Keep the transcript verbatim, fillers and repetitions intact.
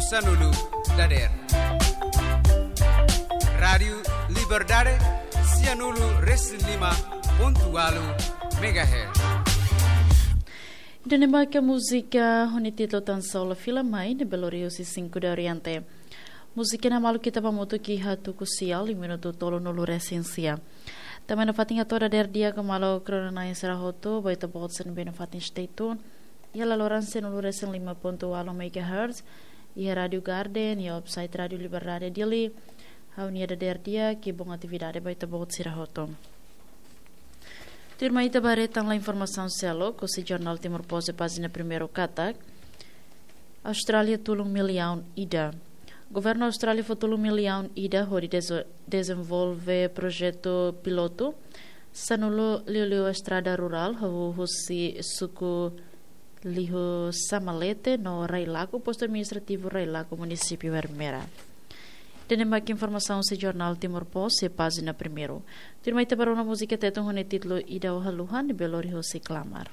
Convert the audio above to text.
Sanulu dader. Rádiu Liberdade, sianulu resin lima pontu walu megahertz. Ida-ne'e mak múzika ho nia títulu Tan Só La Fila Mai, ne'ebé lori husi Cinco de Oriente. Múzika ne'e malu kita ba mutu ki hatu ku sial, iha minutu tolunulu resin sia. Tanba ne'e fatin atu dader di'ak maluk rona-na'in sira hotu, ba ita-boot sira ne'ebé iha fatin stay tune. Iha laloran sianulu resin lima pontu walu megahertz, iha Rádiu Garden, iha website Rádiu Liberdade Dili. Ha'u-nia dader di'ak, bom atividade ba ita-boot sira hotu. Tuirmai ita ba haree tan lae informasaun seluk, husi jornál Timor Post iha pájina primeiru katak, Austrália tulun millaun ida. Governu Austrália fó tulun millaun ida hodi dezo-, dezenvolve projetu pilotu sanulu liuliu estrada rurál hahú husi suku Liu Samalete no Railaku, postu administrativu Railaku, munisípiu Ermera. Ida-ne'e mak informasaun husi jornál Timor Post iha pájina primeiru. Tuirmai ita ba rona múzika Tetun ho nia títulu Ida Ó Haluha, ne'ebé lori husi Klamar.